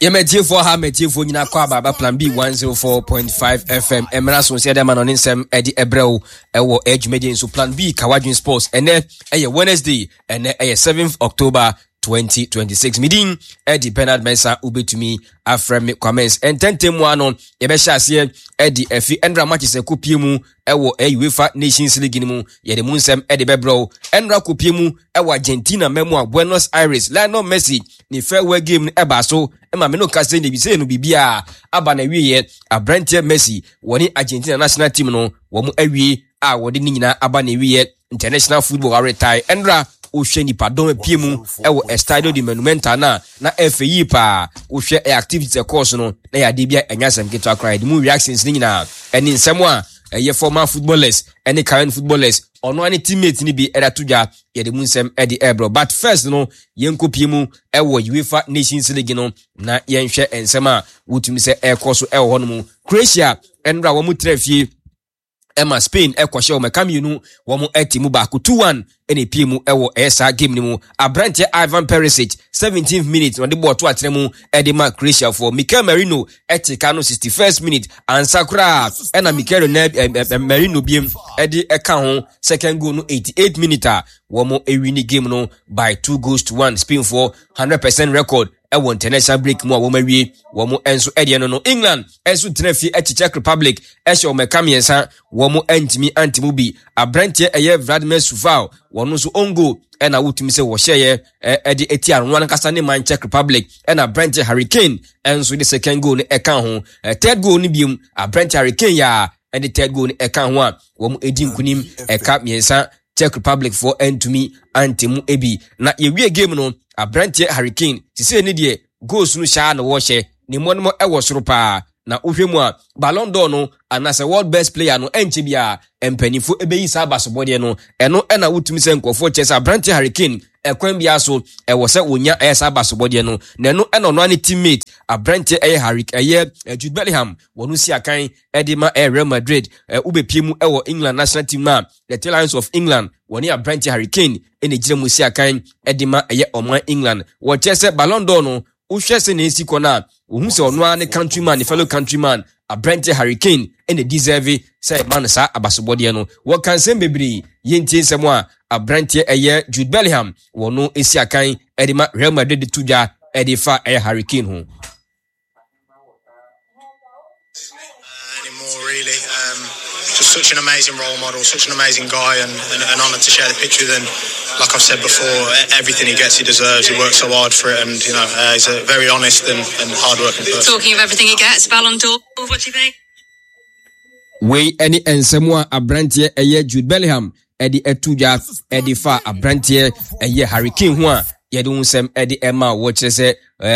Yɛma atiefoɔ ha ma atiefoɔ nyinaa kɔ aba aba Plan B 104.5 FM mmara so sɛ ɛde ama no ne nsɛm ɛde ɛbrɛ wo ɛwɔ ɛdwumadie nso Plan B Kawadwen Sports. Ɛnɛ ɛyɛ Wednesday, ɛnɛ ɛyɛ 7th October 2026. Medin ɛde Bernard Mensah, wobɛtumi afrɛ me Kwamens. Ɛntɛntɛm mu ano yɛbɛhyɛ aseɛ ɛde afi ɛnra matches ɛkɔpie mu ɛwɔ UEFA Nations League no mu. Yɛde mu nsɛm ɛde bɛbrɛ wo. Ɛnra kɔpie mu ɛwɔ Argentina mmamu a Buenos Aires, Lionel Messi ne farewell game no ɛbaa so ma me no ka sɛ ne bisɛ no biribiara aba na wieɛ. Aberanteɛ Messi wɔne Argentina national team no wɔn awie a wɔde ne nyinaa aba na wieɛ. International football aweretae ɛnra wohwɛ nipadɔm apue mu ɛwɔ Estadio de Monumental no a na ɛfɛ yie paa. Wohwɛ ɛ activities ɛkɔɔ so no na yɛ adeɛ bi a ɛnyɛ asɛm ketewa koraa. Yɛde mu reactions no nyinaa ɛne nsɛm a ɛyɛ former footballers ɛne current footballers ɔno ara ne teammate no bi ɛde ato dwa. Yɛde mu nsɛm ɛde ɛrebrɛ. But first no yɛnkɔpie mu ɛwɔ UEFA Nations League no na yɛnhwɛ nsɛm a wotumi sɛ ɛrekɔ so ɛwɔ hɔ no mu. Croatia ɛnora wɔn tena fie ɛma Spain ɛkɔhyɛ wɔn ɛka mmienu, wɔn ɛte mu baako 2-1 ɛna epie mu ɛwɔ ɛyɛ saa game no mu. Aberanteɛ Ivan Perisic 17th minute na ɔde bɔɔl to atena mu ɛde ma Croatia foɔ. Mikel Merino ɛte ka no 61st minute ansa koraa ɛna Mikel Merino biem ɛde ɛka ho second goal no 88 minute a wɔn ɛwi ne game no by 2 goals to 1. Spain foɔ 100% record ɛwɔ international break mu a wɔn awie wɔn nso ɛdeɛ no. England nso tena fie ɛkyi Czech Republic ɛhyɛ wɔn ɛka mmiɛnsa, wɔn ntumi ante mu bi. Aberanteɛ ɛyɛ Vladimir Coufal, wɔn nso on goal ɛna wotumi sɛ wɔhyɛeɛ ɛde eti ano ankasa ne man Czech Republic, ɛna aberanteɛ Harry Kane ɛnso de second goal no ɛka ho. Third goal no biem, aberanteɛ Harry Kane yɛ a ɛde third goal no ɛka ho a wɔn edi nkunim ɛka mmiɛnsa. Czech Republic foɔ antumi ante mu bi. Na yɛwie game no, aberanteɛ Harry Kane sisei ne deɛ goals no hyɛ a na wɔhyɛ ne mmɔnomɔ ɛwɔ soro paa. Na wohwɛ mu a Ballon d'Or no anaasɛ world best player no, ɛnkyɛ biara mpanimfoɔ ɛbɛyi saa abasobɔdeɛ no. Ɛno ɛna wotumi sɛ nkurɔfoɔ kyɛ sɛ aberanteɛ Harry Kane ɛkwan biara so ɛwɔ sɛ wɔnya ɛyɛ saa abasobɔdeɛ no. Na ɛno ɛna ɔno ne teammate aberanteɛ ɛyɛ Harry ɛyɛ Jude Bellingham wɔn si akan ɛde ma ɛyɛ Real Madrid. Wobɛpie mu ɛwɔ England national team no a the Three Lions of England, wɔne aberanteɛ Harry Kane ɛna gyina mu si akan ɛde ma ɛyɛ ɔman England. Wɔkyerɛ sɛ Ballon d'Or no, wohwɛ sɛ na esi kɔ no a, wohu sɛ ɔno ara ne countryman, ne fellow countryman aberanteɛ Harry Kane ɛna deserve sɛ ɛma no saa abasobɔdeɛ no. Wɔka nsɛm bebree. Yɛntie nsɛm a aberanteɛ ɛyɛ Jude Bellingham wɔno esi akan ɛde ma Real Madrid de to dwa ɛde fa ɛyɛ Harry Kane ho. Anymore, really. Just such an amazing role model, such an amazing guy, and an honour to share the pitch with him. Like I've said before, everything he gets, he deserves. He works so hard for it, and he's a very honest and hard-working person. Talking of everything he gets, Ballon d'Or, what do you think? Wei ne nsɛm a aberanteɛ ɛyɛ Jude Bellingham ɛde ɛto dwa ɛde fa aberanteɛ ɛyɛ Harry Kane ho a yɛde ho nsɛm ɛde ɛma wɔkyerɛ sɛ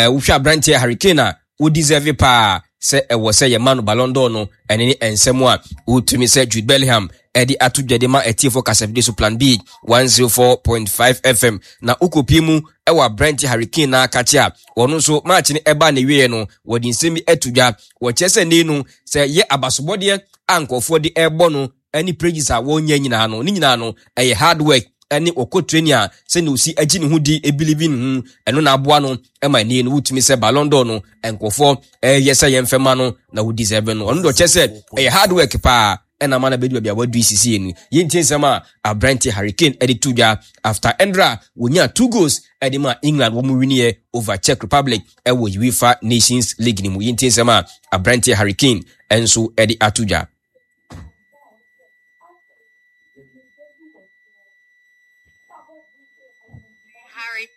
wohwɛ aberanteɛ Harry Kane a wo deserve paa sɛ ɛwɔ sɛ yɛma no Ballon d'Or no. Ɛne ne nsɛm a wotumi sɛ Jude Bellingham ɛde ato dwa de ma atiefo kasafidie so Plan B 104.5 FM. Na wokɔpie mu ɛwɔ aberante Harry Kane na akakye a wɔno nso match no ɛbaa ne wieɛ no, wɔde nsɛm bi ato dwa. Wɔkyerɛ sɛ nei no sɛ yɛ abasobɔdeɛ a nkurɔfoɔ de ɛrebɔ no ɛne praises a wɔnyɛ nyinaa no, ne nyinaa no ɛyɛ hard work ɛne wɔkɔ training a sɛnea osi agye ne ho di, ebelieve ne ho, ɛno na aboa no ɛma ɛne no wotumi sɛ Ballon d'Or no nkurɔfoɔ ɛyɛ sɛ yɛmfɛ ma no na wo deserve no. Ɔno deɛ ɔkyɛ sɛ ɛyɛ hard work paa ɛna ama no bɛdu baabi a wadu sisi no. Yɛntie nsɛm a aberante Harry Kane ɛde to dwa after ɛndra wɔnya two goals ɛde ma England wɔn winiɛ over Czech Republic ɛwɔ UEFA Nations League no mu. Yɛntie nsɛm a aberante Harry Kane ɛnso ɛde ato dwa. Harry.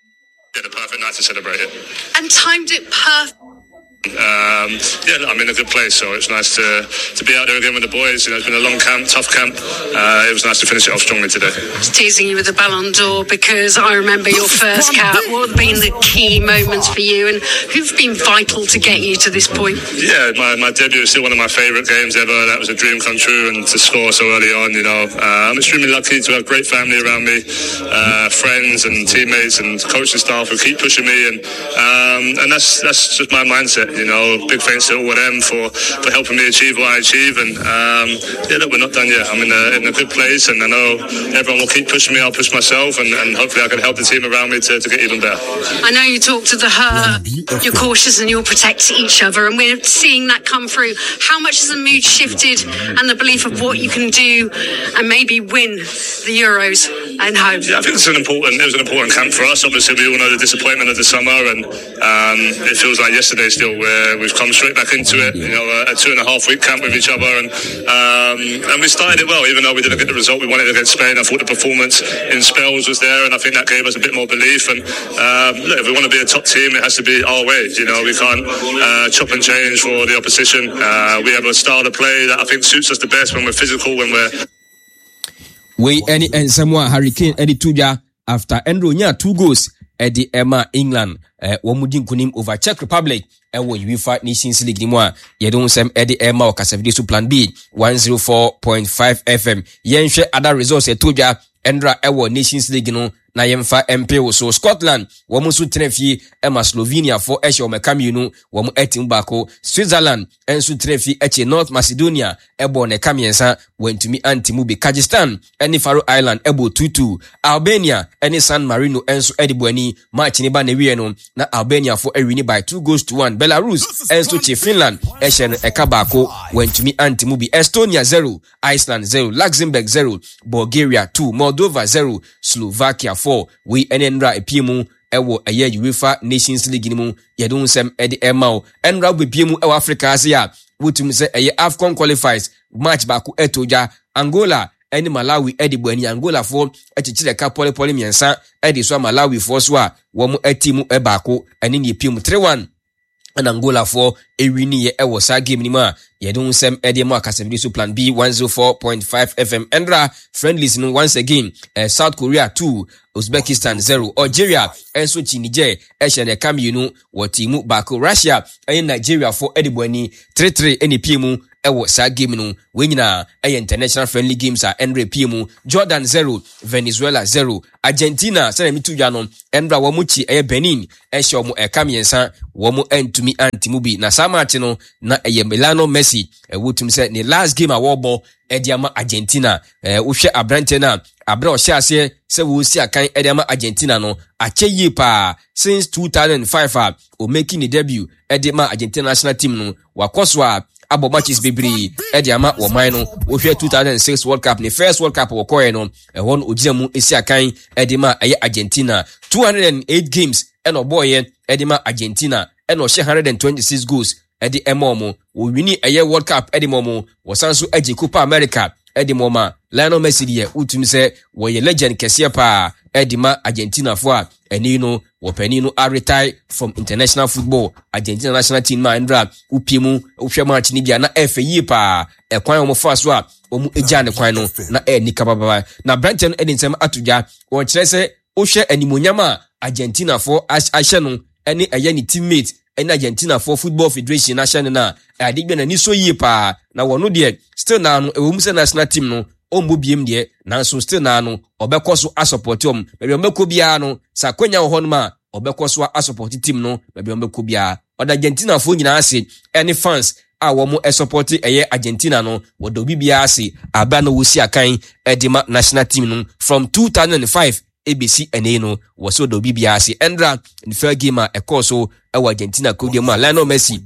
Yeah, the perfect night to celebrate it. And timed it perfect. Yeah, I'm in a good place, so it's nice to be out there again with the boys. It's been a long camp, tough camp. It was nice to finish it off strongly today. Just teasing you with the Ballon d'Or because I remember your first cap. What have been the key moments for you, and who've been vital to get you to this point? Yeah, my debut is still one of my favourite games ever. That was a dream come true, and to score so early on, I'm extremely lucky to have great family around me, friends and teammates and coaching staff who keep pushing me, and that's just my mindset. it. You know, big thanks to all of them for, for helping me achieve what I achieve. And um, yeah, look, we're not done yet. I'm in a, in a good place, and I know everyone will keep pushing me. I'll push myself, and, and hopefully I can help the team around me to, to get even better. I know you talk to the hurt, you're cautious and you'll protect each other, and we're seeing that come through. How much has the mood shifted and the belief of what you can do and maybe win the Euros and home? Yeah, I think it's an important. It was an important camp for us. Obviously, we all know the disappointment of the summer, and um, it feels like yesterday still where we've come straight back into it. You know, a, a two and a half week camp with each other, and um, and we started it well, even though we didn't get the result we wanted against Spain. I thought the performance in spells was there, and I think that gave us a bit more belief. And um, look, if we want to be a top team, it has to be our way. You know, we can't uh, chop and change for the opposition. Uh, we have a style of play that I think suits us the best when we're physical, when we're Wei ne nsɛm a Harry Kane de to dwa after ɛnna onyaa two goals de ɛma England wɔn mu di nkunim over Czech Republic ɛwɔ UEFA Nations League ni mu a yɛde ho nsɛm de ɛma wɔ kasafidie so Plan B 104.5 FM. Yɛnhwɛ other results ɛto dwa ɛnra ɛwɔ Nations League no na yɛmfa mpe wo so. Scotland wɔn nso tena fie ɛma Slovenia fo ɛhyɛ wɔn ɛka mmienu wɔn ɛtim baako. Switzerland nso tena fie ɛkye North Macedonia ɛbɔɔ no ɛka mmiɛnsa, wantumi ante mu bi. Kyrgyzstan ne Faroe Island bɔɔ 2-2. Albania ne San Marino nso de bɔɔ ani. Match no ba n'awieɛ no, na Albaniafo awini by 2 goals to 1. Belarus nso kye Finland hyɛ no ɛka baako, wantumi ante mu bi. Estonia 0, Iceland 0, Luxembourg 0, Bulgaria 2, Moldova 0, Slovakia 4. Wei ne nnora epie mu ɛwɔ ɛyɛ UEFA Nations League no mu yɛde ho nsɛm ɛde ɛma wo. Ɛnora wobɛpie mu ɛwɔ Africa ase a wotumi sɛ ɛyɛ AFCON qualifiers match baako ɛtɔ dwa Angola ɛne Malawi ɛde bɔ ani Angolafoɔ ɛkyekyere ɛka pɔlepɔle mmiɛnsa ɛde so a Malawifoɔ so a wɔn ɛte mu ɛbaako ɛne ne epie mu 3-1 ɛna Angolafoɔ ɛwiniiɛ ɛwɔ saa game no mu a yɛde ho nsɛm ɛde mu akasɛmdi so Plan B 104.5 FM ɛnra friendlies no once again eh, South Korea 2 Uzbekistan 0 Algeria ɛnso kyi Niger ɛhyɛ no ɛka mmienu wɔ ti mu baako Russia ɛne Nigeriafoɔ ɛde bɔ ani 3-3 ɛna epie mu ɛwɔ saa game no wei nyinaa ɛyɛ international friendly games a ɛnra epie mu Jordan 0 Venezuela 0 Argentina sɛdeɛ meto dwa no ɛnra wɔn kyi ɛyɛ Benin ɛhyɛ wɔn ɛka mmiɛnsa wɔn antumi ante mu bi na saa match no na ɛyɛ Lionel Messi ɛwɔ tum sɛ ne last game a wɔrebɔ ɛde ama Argentina ɛɛ wohwɛ aberanteɛ no a abere a ɔhyɛ aseɛ sɛ wɔresi akan ɛde ama Argentina no akyɛ yie paa since 2005 a ɔmaki ne debut ɛde ma Argentina national team no wakɔ so a abɔ matches bebree ɛde ama wɔn man no wohwɛ 2006 World Cup ne first World Cup wɔkɔɛ no ɛhɔ no ogyina mu esi akan ɛde ma ɛyɛ Argentina 208 games ɛna ɔbɔɔyɛ ɛde ma Argentina ɛna ɔhyɛ 126 goals ɛde ɛma wɔn wɔwini ɛyɛ World Cup ɛde ma wɔn wɔsan so agye Copa America ɛde ma wɔn a Lionel Messi deɛ wotumi sɛ wɔyɛ legend kɛseɛ paa ɛde ma Argentinafoɔ a ɛne no wɔpanin no aretire from international football Argentina national team ma ndra wopie mu wohwɛ match no bi a na ɛfɛ yie paa ɛkwan a wɔfa so a wɔn gyaa ne kwan no na ɛyɛ nika bababa na aberanteɛ no de nsɛm ato dwa wɔkyerɛ sɛ wohwɛ animonyam a Argentinafoɔ ahyɛ no ɛne ɛyɛ ne teammate ɛne Argentinafoɔ football federation ahyɛ no no a ɛade bi n'ani so yie paa na wɔn deɛ still naa no ɛwɔ mu sɛ national team no ɔmmɔ biem deɛ nanso still naa no ɔbɛkɔ so asɔpɔte wɔn baabi a ɔbɛkɔ biara no sɛ akwanya wɔ hɔnom a ɔbɛkɔ so asɔpɔte team no baabi a ɔbɛkɔ biara ɔda Argentinafoɔ nyinaa ase ɛne fans a wɔn sɔpɔte ɛyɛ Argentina no wɔda obi biara ase abira na wɔsi akan ɛde ma national team no from 2005 ebesi ɛnɛ yi no wɔsɛ ɔda obi biara ase ɛndra ne fair game a ɛkɔɔ so ɛwɔ Argentina kurodeɛ mu a Lionel Messi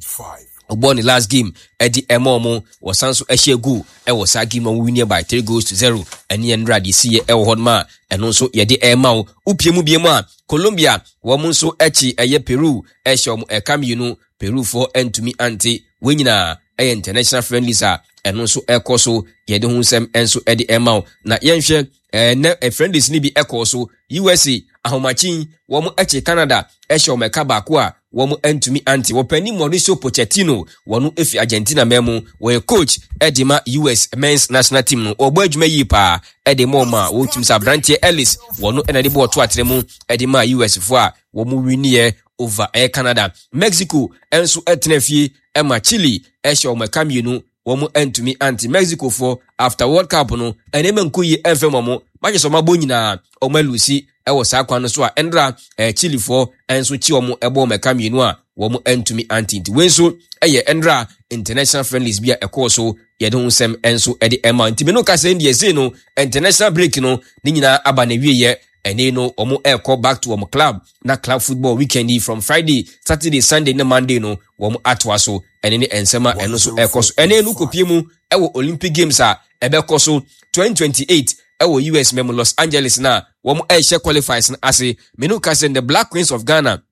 ɔbɔɔ ne last game ɛde ɛma ɔmo wɔsan so ɛhyɛ goal ɛwɔ saa game ɔmo winie by three goals to zero ɛne ɛndra deɛ si yɛ ɛwɔ hɔ nom a ɛno nso yɛde ɛma wo wopie mu bie mu a Colombia wɔn nso ɛkyi ɛyɛ Peru ɛhyɛ ɔmo ɛka mmienu Perufoɔ antumi ante. Wei nyinaa ɛyɛ international friendlies a ɛno nso ɛkɔ so yɛde ho nsɛm nso ɛde ɛma wo. Na yɛnhwɛ ɛnɛ friendlies no bi ɛkɔɔ so. USA ahomakyin wɔn ɛkye Canada ɛhyɛ wɔn ɛka baako a wɔn antumi ante. Wɔpanin Mauricio Pochettino wɔn efi Argentina man mu wɔyɛ coach ɛde ma US men's national team no. Wɔbɔ adwuma yie paa ɛde ma wɔn a wɔtumi sɛ aberanteɛ Ellis wɔn ɛna de bɔɔl to atena mu ɛde ma US foɔ a wɔn winiɛ over ɛyɛ Canada. Mexico nso tena fie ma Chile hyɛ wɔn ɛka mmienu wɔn ntumi ante. Mexico foɔ after World Cup no nneɛma nkɔ yie ɛmfɛ wɔn matches wɔn abɔ nyinaa wɔn alusi. ɛwɔ saa kwan no so a ɛndra Chilefoɔ nso kyi wɔn ɛbɔ wɔn ɛka mmienu a wɔn ntumi ante. Nti wei nso ɛyɛ ɛndra international friendlies bi a ɛkɔɔ so yɛde ho nsɛm nso ɛde ɛma. Nti me no kasa yi deɛ sei no international break no ne nyinaa aba na wieɛ. Ɛne no wɔn ɛrekɔ back to wɔn club na club football weekend yi from Friday, Saturday, Sunday ne Monday no wɔn atoa so. Ɛne ne nsɛm a ɛno nso ɛrekɔ so. Ɛne no kɔpie mu ɛwɔ Olympic Games a ɛbɛkɔ so 2028 ɛwɔ US mɛmu Los Angeles na wɔn ɛrehyɛ qualifiers no ase. Menu ka sɛ the Black Queens of Ghana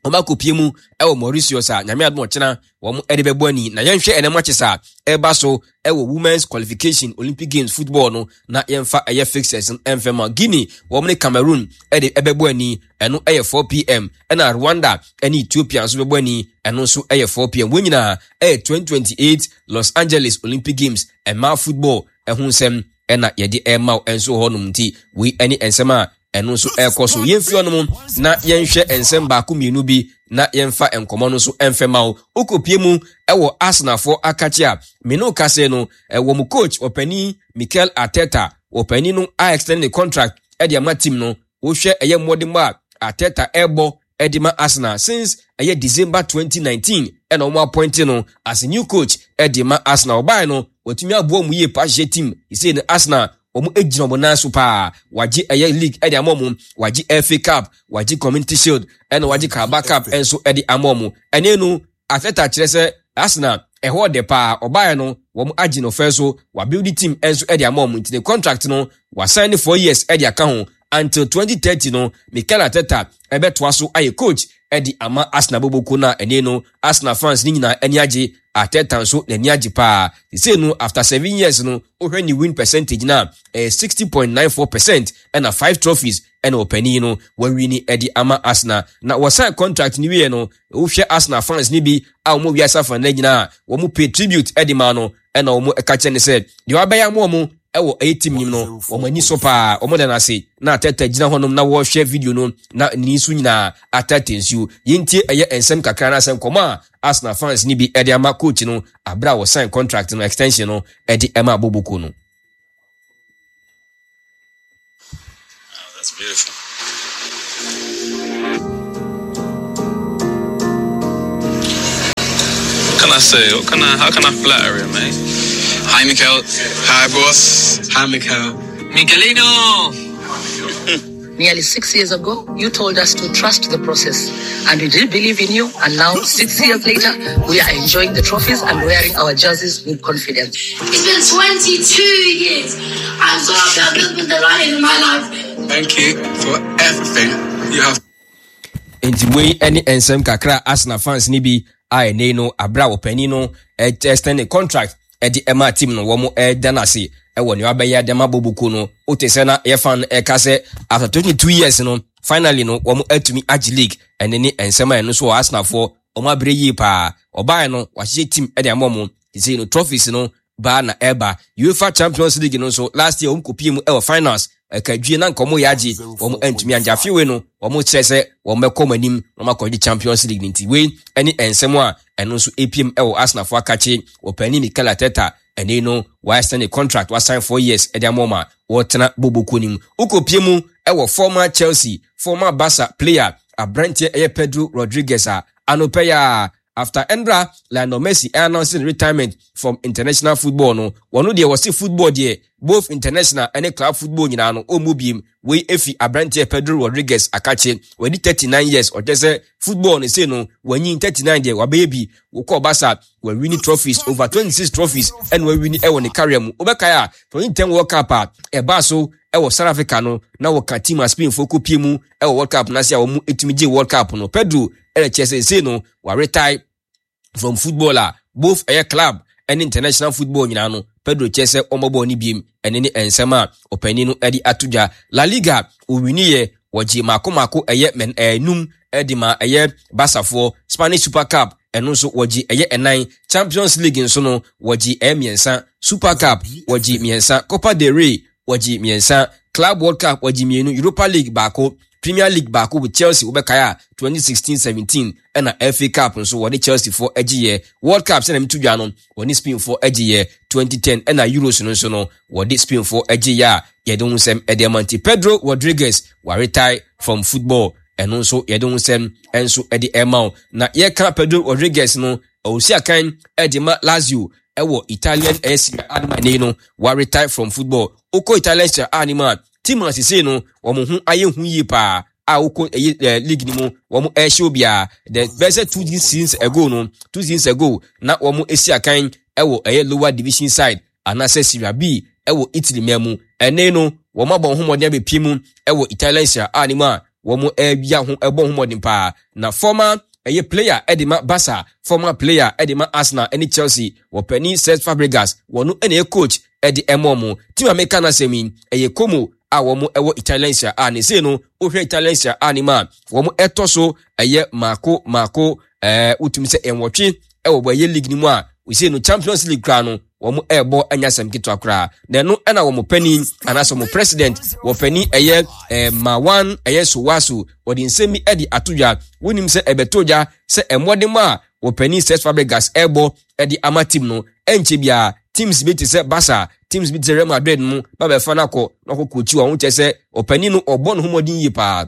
wɔn akɔpie mu ɛwɔ Mauritius a Nyame adom ɔkyena wɔn ɛde bɛbɔ ani. Na yɛnhwɛ ɛnɛ matches a ɛreba so ɛwɔ Women's Qualification Olympic Games football no na yɛmfa ɛyɛ fixtures no ɛmfɛ ma. Guinea wɔn ne Cameroon ɛde ɛbɛbɔ ani, ɛno ɛyɛ 4 p.m., ɛna Rwanda ɛne Ethiopia nso bɛbɔ ani, ɛno nso ɛyɛ 4 p.m. Wɔn nyinaa ɛyɛ 2028 Los Angeles Olympic Games ɛmaa football ɛho nsɛm ɛna yɛde ɛma wo ɛnso hɔnom. Nti wei ɛne nsɛm a ɛno nso ɛrekɔ so. Yɛmfi hɔnom na yɛnhwɛ nsɛm baako mmienu bi na yɛmfa nkɔmmɔ no nso ɛmfɛ ma wo. Wokɔpie mu ɛwɔ Arsenalfoɔ akakye a me ne wo kase no, ɛwɔ mu coach ɔpanin Mikel Arteta, ɔpanin no a extend ne contract ɛde ama team no. Wohwɛ ɛyɛ mmɔdemmɔ a Arteta ɛrebɔ ɛde ma Arsenal since ɛyɛ December 2019 ɛna wɔn appoint no as a new coach ɛde ma Arsenal. Ɔbaa no watumi aboa wɔn yie pa ahyehyɛ team sɛ no Arsenal wɔn gyina wɔn nan so paa. Wagye ɛyɛ league ɛde ama wɔn, wagye FA Cup, wagye Community Shield, ɛna wagye Carabao Cup ɛnso ɛde ama wɔn. Ɛne no Arteta kyerɛ sɛ Arsenal ɛhɔ de paa. Ɔbaeɛ no wɔn agye no fɛ so, wabuild team ɛnso ɛde ama wɔn. Nti ne contract no wasan ne 4 years ɛde aka ho until 2030 no Mikel Arteta ɛbɛtoa so ayɛ coach ɛde ama Arsenal boboko no a ɛne no Arsenal fans ne nyinaa ani agye. Arteta nso n'ani agye paa sesei no after 7 years no, wohwɛ ne win percentage no a ɛyɛ 60.94% ɛna five trophies ɛna ɔpanin no wawin ɛde ama Arsenal. Na wɔsan contract no wie no, wohwɛ Arsenal fans no bi a wɔn wiase afa no nyinaa wɔn pay tribute ɛde ma no, ɛna wɔn ɛka kyerɛ ne sɛ deɛ wabɛyɛ ama wɔn ɛwɔ ɛyɛ team nim no, wɔn ani so paa, wɔn da n'ase. Na Arteta gyina hɔnom na wɔrehwɛ video no na ne nso nyinaa Arteta nsuo. Yɛntie ɛyɛ nsɛm kakra na asɛm nkɔmɔ a Arsenal fans no bi ɛde ama coach no abere a wɔsign contract no extension no ɛde ɛma Boboko no. Oh, that's beautiful. What can I say? What can I? How can I flatter him, mate? Hi, Mikel. Hi, boss. Hi, Mikel. Miguelino! Nearly 6 years ago, you told us to trust the process, and we did believe in you. And now, 6 years later, we are enjoying the trophies and wearing our jerseys with confidence. It's been 22 years. I'm so happy I've just been the lion in my life. Thank you for everything you have. Nti wei ne nsɛm kakra a Arsenal fans no bi a ɛnɛ no abere a wɔpanin no extend ne contract ɛde ɛma team no, wɔn ɛda n'ase ɛwɔ nea wabɛyɛ ɛde ama boboko no. Wote sɛ na yɛ fan ɛka sɛ after 22 years no, finally no wɔn atumi agye league. Ɛne ne nsɛm a ɛno nso wɔ Arsenalfoɔ wɔn abere yie paa. Ɔbaa no wahyehyɛ team ɛde ama wɔn sɛ no trophies no baa na ɛba UEFA Champions League no nso, last year wɔn kɔpie mu ɛwɔ finals, ɛka dwie na nka wɔn yɛ agye, wɔn antumi agye. Afewe no wɔn kyerɛ sɛ wɔn bɛkɔ wɔn anim na wɔn akɔgye Champions League ne. Nti wei ɛne nsɛm a ɛno nso epiem ɛwɔ Arsenalfoɔ akakye wɔpanin Mikel Arteta. Ɛne no wɔasign ne contract, wasign 4 years ɛde ama wɔn a wɔtena boboko nim. Wokɔpie mu ɛwɔ former Chelsea, former Barca player aberanteɛ ɛyɛ Pedro Rodriguez a anɔpɛ yɛ a after ɛndra Lionel Messi announce retirement from international football no, wɔn deɛ wɔsi football deɛ, both international ɛne club football nyinaa no, ɔmmu biem. Wei efi aberanteɛ Pedro Rodriguez akakye. Wɔadi 39 years. Ɔkyɛ sɛ football no sei no wɔanyin 39 deɛ wabɛyɛ bi. Wokɔ Barca, wawin trophies, over 26 trophies ɛna wawin ɛwɔ ne career mu. Wobɛkae a 2010 World Cup a ɛbaa so ɛwɔ South Africa no, na wɔka team a Spain fo kɔpie mu ɛwɔ World Cup n'ase a wɔn etumi gye World Cup no. Pedro ɛna kyerɛ sɛ sei no waretire from football a both ɛyɛ club ɛne international football nyinaa no. Pedro kyerɛ sɛ ɔmmɔbɔ ne biem. Ɛne ne nsɛm a ɔpanin no de ato dwa. La Liga owiniɛ, wɔgye mako mako ɛyɛ mɛn ɛnum ɛde ma ɛyɛ Barcafoɔ. Spanish Super Cup ɛno nso wɔgye ɛyɛ ɛnan. Champions League nso no wɔgye ɛyɛ mmiɛnsa. Super Cup wɔgye mmiɛnsa. Copa del Rey wɔgye mmiɛnsa. Club World Cup wɔgye mmienu. Europa League baako. Premier League baako with Chelsea, wobɛkae a 2016-17, ɛna FA Cup nso wɔde Chelsea foɔ agyeeɛ. World Cup sɛdeɛ meto dwa no, wɔne Spain foɔ agyeeɛ 2010, ɛna Euros no nso no wɔde Spain foɔ agyeeɛ a yɛde ho nsɛm ɛde ama. Nti Pedro Rodriguez waretire from football, ɛno nso yɛde ho nsɛm nso ɛde ɛma wo. Na yɛka Pedro Rodriguez no, ɔsi akan ɛde ma Lazio ɛwɔ Italian ɛyɛ Serie A no ma ɛnɛ no waretire from football. Wokɔ Italian Serie A no mu a, team a sesei no wɔn ho ayɛ hu yie paa a wokɔ ɛyɛ league no mu wɔn ɛhyɛ obiara the bɛyɛ sɛ 2 seasons ago na wɔn esi akan ɛwɔ ɛyɛ lower division side anaasɛ Serie B ɛwɔ Italy man mu. Ɛnɛ no wɔn abɔ ho mmɔden abɛpie mu ɛwɔ Italian Serie A no mu a wɔn ɛwia ho ɛbɔ ho mmɔden paa. Na former ɛyɛ player ɛde ma Barca, former player ɛde ma Arsenal ɛne Chelsea, wɔpɛni Cesc Fabregas, wɔn ɛna ɛyɛ coach ɛde ɛmɔ mo. Team a meka n'asɛm yi ɛyɛ Como a wɔn ɛwɔ Italian Serie A. Ne sei no, wohwɛ Italian Serie A ne mu a, wɔn ɛtɔ so ɛyɛ maako maako wotumi sɛ 8 ɛwɔ bɔ ɛyɛ league no mu a wosei no Champions League koraa no wɔn ɛrebɔ anya asɛm ketewa koraa. Na ɛno ɛna wɔn panin anaasɛ wɔn president, wɔpanin ɛyɛ Marwan ɛyɛ Sowaso, wɔde nsɛm bi ɛde ato dwa. Wonim sɛ ɛbɛto dwa sɛ ɛmmɔden a wɔpanin Cesc Fabregas ɛrebɔ ɛde ama team no, ɛnkyɛ biara teams bi te sɛ Barca, teams bi te sɛ Real Madrid mu ba bɛfa no akɔ na ɔkɔ coach wɔn. Kyerɛ sɛ ɔpanin no ɔbɔ ne ho mmɔden yie paa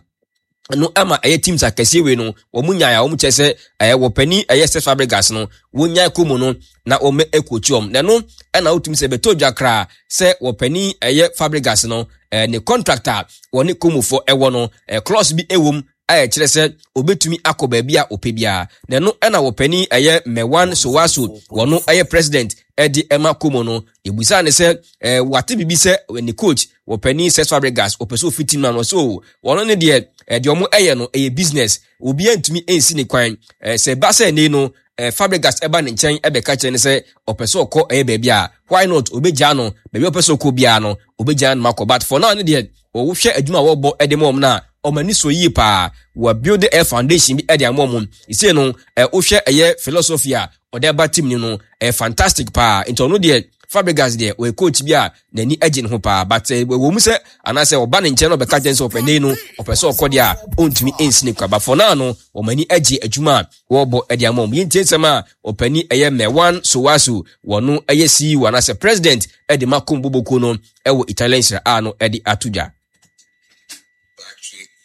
no ama ɛyɛ teams akɛseɛ wei no wɔn nyae a wɔn kyerɛ sɛ ɛyɛ wɔpanin ɛyɛ Cesc Fabregas no wɔn nyae kɔ mu no na wɔn ɛcoach wɔn. Na ɛno ɛna wotumi sɛ bɛtɔ dwa koraa sɛ wɔpanin ɛyɛ Fabregas no ne contract a wɔne Comofoɔ ɛwɔ no, clause bi ɛwɔ mu a ɛkyerɛ sɛ obetumi akɔ baabi a ɔpɛ biara. Na ɛno ɛna wɔpanin ɛyɛ Mewan Sowaso, wɔno ɛyɛ president ɛde ɛma Como no, ebusa ne sɛ wate biribi sɛ ne coach wɔpanin Cesc Fabregas ɔpɛ sɛ ofi team no ano. So wɔn ne deɛ deɛ wɔn ɛyɛ no ɛyɛ business, obiara ntumi nsi ne kwan. Sɛ ba sɛ ɛnɛ no Fabregas ɛba ne nkyɛn ɛbɛka kyerɛ ne sɛ ɔpɛ sɛ ɔkɔ ɛyɛ baabi a, why not? Obɛgyaa no baabi a ɔpɛ sɛ ɔkɔ biara no, obɛgyaa no makɔ. But for now ne deɛ, wɔhwɛ adwuma a wɔbɔ ɛde ma wɔn no a, wɔn ani sɔ yie paa. Wɔ build ɛyɛ foundation bi ɛde ama wɔn ɛsei no. Wohwɛ ɛyɛ philosophy a ɔde aba team no, ɛyɛ fantastic paa. Nti ɔno deɛ, Fabregas deɛ, ɔyɛ coach bi a n'ani agye ne ho paa. But ɛwɔ mu sɛ anaasɛ ɔba ne nkyɛn na ɔbɛka kyɛn sɛ ɔpɛ ne no ɔpɛ sɛ ɔkɔ deɛ a, ɔntumi nsi ne kwa. But for now no, wɔn ani agye adwuma a wɔrebɔ ɛde ama wɔn. Yɛntie nsɛm a ɔpani ɛyɛ Mewan Sowaso, wɔno ɛyɛ CEO anaasɛ president ɛde ma Como Boboko no ɛwɔ Italian Serie A no, ɛde ato dwa.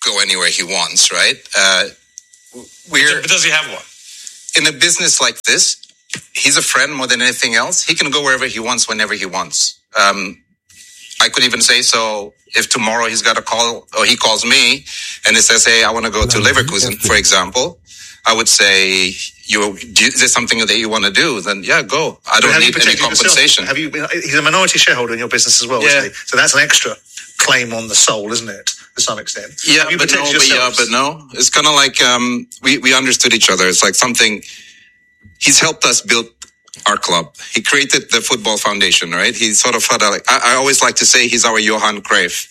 Go anywhere he wants, right? We're But does he have one? In a business like this, he's a friend more than anything else. He can go wherever he wants, whenever he wants. I could even say so if tomorrow he's got a call or he calls me and he says, "Hey, I want to go to Leverkusen," for example, I would say, "You, is there something that you want to do? Then yeah, go. I But don't have you need any protected yourself? compensation." Have you? He's a minority shareholder in your business as well, Yeah. isn't he? So that's an extra claim on the soul, isn't it? To some extent. Yeah, Have you but no, protected but yeah, yourselves? but no. It's kind of like we understood each other. It's like something. He's helped us build our club. He created the football foundation, right? He sort of had a, like, I always like to say he's our Johan Cruyff.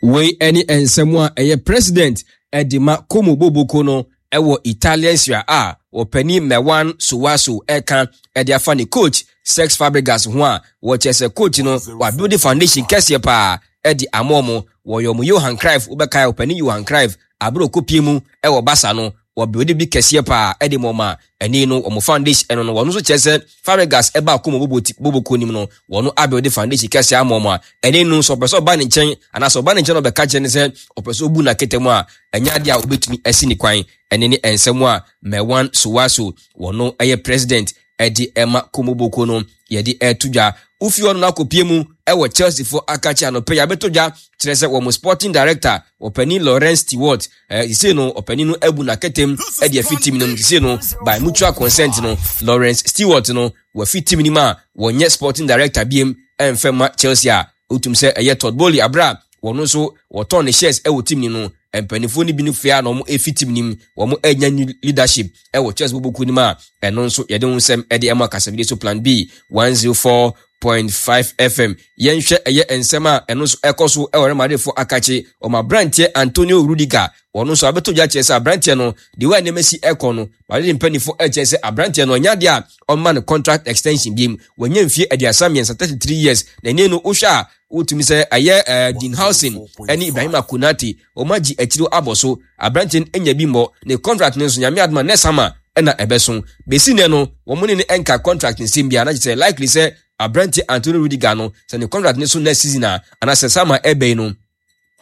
Wei ne nsɛm a ɛyɛ president ɛde ma Como Boboko no ɛwɔ Italian Serie A, wɔpanin Mewan Sowaso, ɛka ɛde afa ne coach Cesc Fabregas ho a wɔkyerɛ sɛ coach no wabuild foundation kɛseɛ paa ɛde ama ɔmo. Wɔyɛ ɔmo Johan Cruyff. Wobɛkae ɔpanin Johan Cruyff abere okopie mu ɛwɔ Barca no, wɔbuild bi kɛseɛ paa ɛde ma ɔmo a ɛne no wɔn foundation ɛno no. Wɔn nso kyerɛ sɛ Fabregas ɛba Como Boboko nim no, wɔn abuild foundation kɛseɛ ama ɔmo a ɛne no nso ɔpɛ sɛ ɔba ne nkyɛn anaasɛ ɔba ne nkyɛn na ɔbɛka kyerɛ ne sɛ ɔpɛ sɛ ɔbu n'aketa mu a, ɛnyɛ adeɛ a wobɛtumi asi ne kwan. Ɛne ne nsɛm a Mewan Sowaso, wɔno ɛyɛ president ɛde ɛma Como Boko no, yɛde ɛto dwa. Wofi hɔ no no akɔpie mu ɛwɔ Chelsea fo akakye anɔpɛ yi abɛtɔ dwa kyerɛ sɛ wɔn sporting director, ɔpanin Lawrence Stewart, sisei no ɔpanin no abu n'akɛtɛm ɛde afi team no mu. Sisei no, by mutual consent no, Lawrence Stewart no wafi team no mu a wɔnyɛ sporting director biem ɛmfɛ ma Chelsea a wotum sɛ ɛyɛ Todd Boehly abere a wɔn nso wɔtɔn ne shares ɛwɔ team no no. Mpanimfoɔ no bi no fia na wɔn efi team no mu, wɔn anya new leadership ɛwɔ Chelsea bɔbɔkuo no mu a ɛno nso yɛde ho nsɛm ɛde ɛma kasafidie so Plan B 104. 104.5 FM. Yɛnhwɛ ɛyɛ nsɛm a ɛno nso ɛkɔ so ɛwɔ Real Madridfoɔ akakye. Wɔn aberanteɛ Antonio Rudiger, wɔn nso abɛtɔ dwa kyerɛ sɛ aberanteɛ no, deɛ wɔ a nneɛma si ɛkɔ no, Madrid mpanimfoɔ ɛkyerɛ sɛ aberanteɛ no ɔnyɛ adeɛ a ɔmma no contract extension biem. Wanya mfie 33, 33 years, na ɛnɛ no wohwɛ a wotumi sɛ ɛyɛ Dean Huijsen ɛne Ibrahima Konate wɔn agye akyiri abɔ so. Aberanteɛ no anya bi mmɔ ne contract no nso, Nyame adom a next summer ɛna ɛbɛso. Bɛsi nnɛ no wɔn ne no ɛnka contract nsɛm biara, na kyerɛ sɛ likely sɛ aberanteɛ Antonio Rudiger no sɛ ne contract no so next season a anaasɛ summer ɛbɛyi no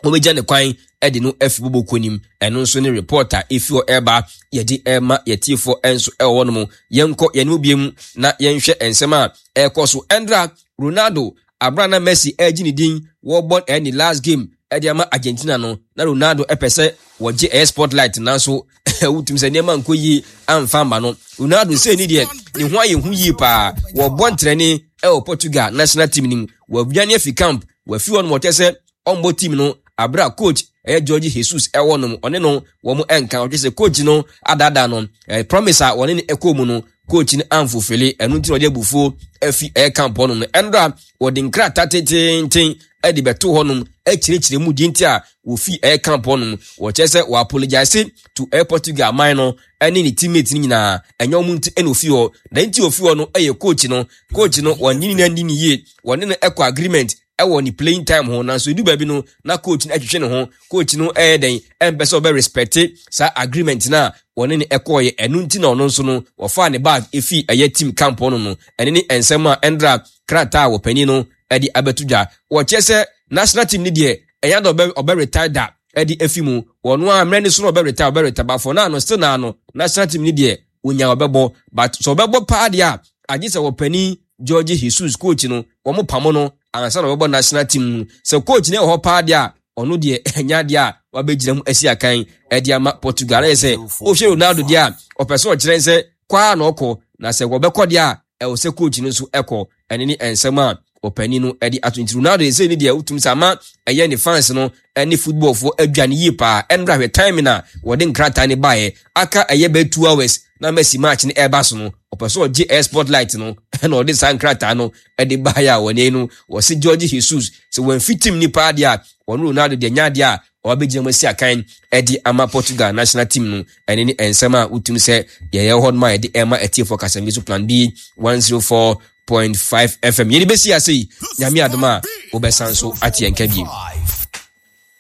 wɔbɛgya ne kwan de no afi bɔbɔ kuo nim. Ɛno nso ne report a ɛfi hɔ ɛreba yɛde ɛrema yɛtiefoɔ nso ɛwɔ hɔ nom. Yɛnkɔ yɛn mu biem na yɛnhwɛ nsɛm a ɛrekɔ so. Ɛndra Ronaldo abira na Messi ɛregye ne din wɔrebɔ ɛne last game ɛde ama Argentina no, na Ronaldo ɛpɛ sɛ wɔgye ɛyɛ spotlight, nanso wotumi sɛ nneɛma nkɔ yie amfa amma no. Ronaldo sɛ ni deɛ ne ho ayɛ hu yie paa. Wɔbɔ ntrɛne ɛwɔ Portugal national team no mu, wɔadwane afi camp, wɔafi hɔ nom, wɔkyɛ sɛ ɔmmɔ team no abere a coach ɛyɛ Jorge Jesus ɛwɔ nom, ɔne no wɔn ɛnka. Ɔkyɛ sɛ coach no adaadaa no, promise a wɔne no ɛkɔɔ mu no coach no amfofele, ɛno nti na ɔde abufuo afi ɛyɛ camp hɔ nom no. Ɛnora wɔde nkrataa tententen ɛde bɛto hɔ nom ɛkyerɛkyerɛ mu deɛ nti a wɔfi ɛyɛ camp hɔ nom. Wɔkyerɛ sɛ wɔ apologize to ɛyɛ Portugal man no ɛne ne teammate no nyinaa, ɛnyɛ wɔn nti ɛna ofi hɔ, na nti ofi hɔ no ɛyɛ coach no. Coach no wɔn ne no ani ne yie, wɔne no ɛkɔ agreement ɛwɔ ne playing time ho, nanso edu baabi no na coach no ɛtwetwe ne ho. Coach no ɛyɛ dɛn ɛmpɛ sɛ ɔbɛ respect saa agreement no a wɔne no ɛkɔɔyɛ, ɛno nti na ɔno nso no wɔfaa ne bag efi ɛyɛ team camp hɔ no no. Ɛne ne nsɛm a ɛndra krataa a wɔpanin no ɛde abɛto dwa. Wɔkyerɛ sɛ national team no deɛ ɛnyɛ dɛ ɔbɛ ɔbɛ retire da ɛde afi mu, wɔn a mmerɛ ne so no ɔbɛ retire ɔbɛ retire, but for now no still naa no national team no deɛ onya ɔbɛbɔ, but sɛ ɔbɛbɔ paa deɛ a agye sɛ wɔpanin Jorge Jesus coach no wɔn pamo no ansa na ɔbɛbɔ national team no. Sɛ coach no wɔ hɔ paa deɛ a ɔno deɛ ɛnyɛ adeɛ a wabɛgyina mu asi akan ɛde ama Portugal. Ayɛ sɛ wohwɛ Ronaldo deɛ a ɔpɛ sɛ ɔkyerɛ sɛ kɔ a na ɔkɔ, na sɛ wɔbɛkɔ deɛ a ɛwɔ sɛ coach no nso ɛkɔ. Ɛne ne nsɛm a ɔpanin no ɛde ato. Nti Ronaldo ɛsɛ ne deɛ wotum sɛ ama ɛyɛ ne fans no ɛne footballfoɔ adwane yie paa. Ɛnora hwɛ time na wɔde nkrataa ne baeɛ, aka ɛyɛ bɛyɛ 2 hours na Messi match no ɛreba so no, ɔpɛ sɛ ɔgye ɛyɛ spotlight no ɛna ɔde saa nkrataa no ɛde baeɛ a wɔne no wɔse Jorge Jesus sɛ wɔamfi team ni paa deɛ a wɔne Ronaldo deɛ nya adeɛ a ɔbɛgyina mu asi akan ɛde ama Portugal national team no. Ɛne ne nsɛm a wotum sɛ yɛyɛ hɔ nom a yɛde ɛma atiefoɔ kasɛm so Plan B 104.5 FM. Yɛde bɛsi ase yi, Nyame adom a wobɛsan so ate yɛn ka bio.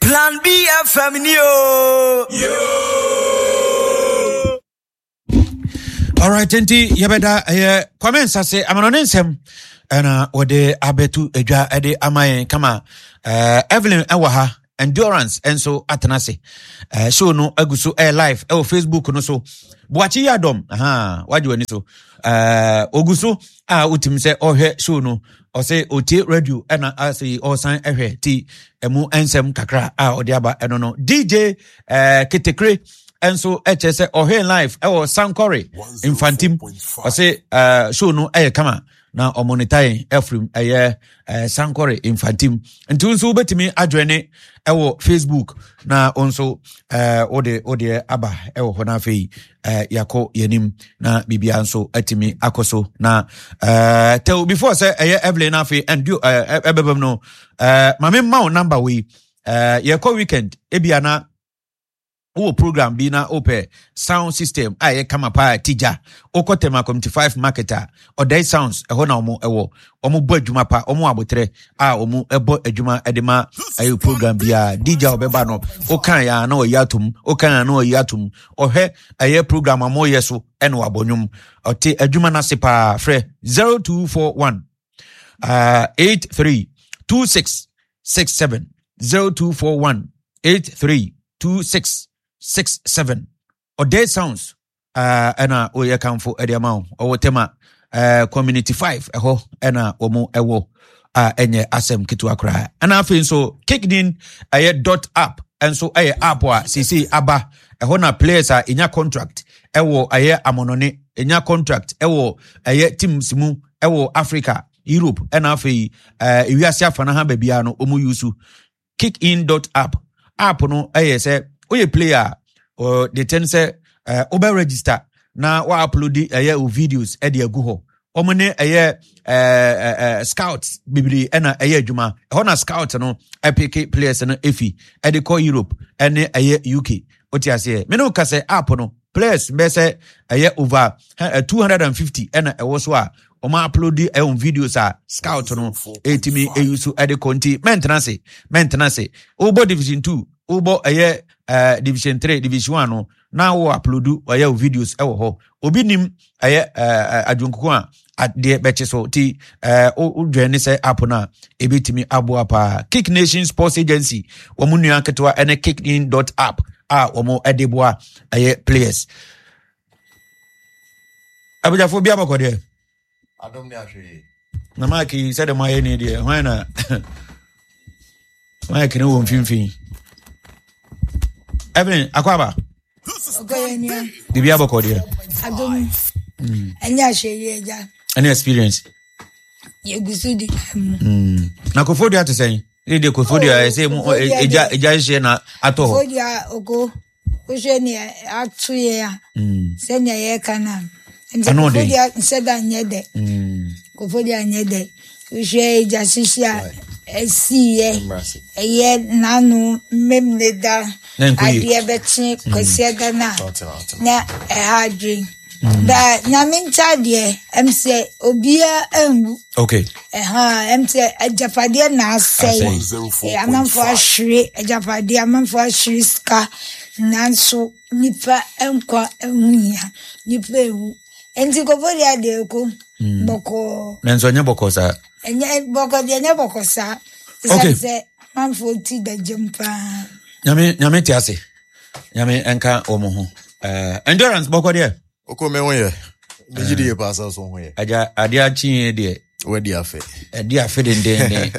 Plan B FM ni o. Alright, nti yɛbɛda ɛyɛ Kwame Nsase amanɔne nsɛm ɛna wɔde abɛto adwa ɛde ama yɛn kama. Evelyn ɛwɔ ha, Endurance nso atena ase. Show no agu so ɛyɛ live ɛwɔ Facebook no so. Boakye yi adɔm, aha, wagye w'ani so. Ogu so a wotumi sɛ ɔhwɛ show no, ɔsɛ otie radio ɛna asɛ ɔsan ɛhwɛ ti ɛmu nsɛm kakra a ɔde aba ɛno no. DJ Ketekre nso ɛkyerɛ sɛ ɔhwɛ live ɛwɔ Sankore Mfantim, ɔsɛ show no ɛyɛ kama na ɔmonita yɛn afirim ɛyɛ Sankore Mfantim. Nti nso wobɛtumi adwene ɛwɔ Facebook na wo nso wode wodeɛ aba ɛwɔ hɔ no. Afei yɛakɔ yɛnim na biribiara nso atumi akɔ so na tɛw before sɛ ɛyɛ Evelyn no afei ɛndio ɛbɛbam no, ma memma wo number wei. Yɛkɔ weekend ebia na wowɔ program bi na wopɛ sound system a ɛyɛ kama paa tigya, wokɔ Tema Community 5 market a, Ɔdɛe Sounds ɛhɔ na wɔn ɛwɔ. Wɔn bɔ adwuma pa, wɔn abotrɛ a wɔn ɛbɔ adwuma ɛde ma ɛyɛ program biara. DJ a ɔbɛba no, wokan ya na ɔyi atom, wokan ya na ɔyi atom, ɔhwɛ ɛyɛ program a wɔyɛ so ɛna wabɔ nnwom. Ɔte adwuma no ase paa. Frɛ 0241 83 26 67, 0241 83 26 67. Ɔdɛe Sounds ɛna ɔyɛ kamfo ɛde ama wo. Ɔwɔ Tema Community 5 ɛhɔ ɛna wɔn ɛwɔ a ɛnyɛ asɛm ketewa koraa. Ɛna afei nso Kickdin ɛyɛ dot app ɛnso ɛyɛ app a seesei aba ɛhɔ na players a ɛnya contract ɛwɔ ɛyɛ amɔnɔne, ɛnya contract ɛwɔ ɛyɛ teams mu ɛwɔ Africa, Europe ɛna afei ewiase afa no ha baabiara no wɔn use kickin dot app. App no ɛyɛ sɛ woyɛ player a, de ten sɛ wobɛ register na wa upload ɛyɛ o videos ɛde agu hɔ. Wɔn ne ɛyɛ scouts bebree ɛna ɛyɛ adwuma. Ɛhɔ na scout no ɛpeke players no efi ɛde kɔ Europe ɛne ɛyɛ UK. Wote aseɛ? Me ne wo ka sɛ app no players bɛyɛ sɛ ɛyɛ over 250 ɛna ɛwɔ so a wɔn upload ɛwɔn videos a scout no ɛtumi ɛyi so ɛde kɔ. Nti mɛntena ase, mɛntena ase. Wobɔ division 2, wobɔ ɛyɛ division 3, division 1 no na wo upload ɛyɛ wo videos ɛwɔ hɔ. Obi nim ɛyɛ adwonkuku a adeɛ bɛkye so. Nti wodwɛn ne sɛ app no a ɛbɛtumi aboa paa. Kick Nation Sports Agency, wɔn nua ketewa ɛne kickin dot app a wɔn ɛde boa ɛyɛ players. Abagyafoɔ bi abɔkɔ deɛ na maaki sɛdeɛ moayɛ ne deɛ, hwan na maaki no wɔ mfimfini? Evelyn akɔ aba, biribi abɔkɔ deɛ? Ɛnyɛ ahwɛyie, agya. Ɛne experience. Yɛgu so di mu. Na Kofodua te sɛn? Ne deɛ Kofodua ɛsɛ mu ɛgya ɛgya hyehyɛ na atɔ hɔ. Kofodua oko, wohwɛ nea ato yɛ a, sɛnea yɛka no a, nti Kofodua nsɛ da nyɛ dɛ. Kofodua nyɛ dɛ. Wohwɛ egya hyehye a ɛsiiɛ, ɛyɛ n'ano mmemne da, adeɛ bɛkye Kwasiada no a, na ɛha adwen. Ba Nyame nkyɛ deɛ, ɛm sɛ obiara anwu. Okay. Ɛha, ɛm sɛ agyapadeɛ na asɛe. Amanfoɔ ahwere agyapadeɛ, amanfoɔ ahwere sika, nanso nipa nkwa ho hia, nipa ewu. Nti Kofodua deɛ ɛkɔ bɔkɔɔ. Nanso ɛnyɛ bɔkɔɔ saa. Ɛnyɛ bɔkɔɔ deɛ, ɛnyɛ bɔkɔɔ saa. Okay. Sɛ amanfoɔ ti da gyam paa. Nyame, Nyame te ase. Nyame nka wɔn ho. Endurance bɔkɔ deɛ. Oko me ho yɛ. Megye di yɛ paa sɛ so ho yɛ. Agya adeɛ akyi deɛ. Wadi afe. Ɛdi afe dendenden.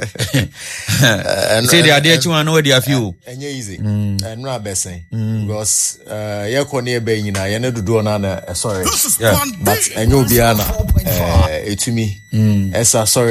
Sɛ deɛ adeɛ akyi wɔn ano wadi afe o. Ɛnyɛ easy. Ɛnura abɛsɛn. Because yɛkɔ ne yɛbɛ nyinaa yɛne dodoɔ no na ɛsɔre. But ɛnyɛ obiara na ɛtumi ɛsa sɔre.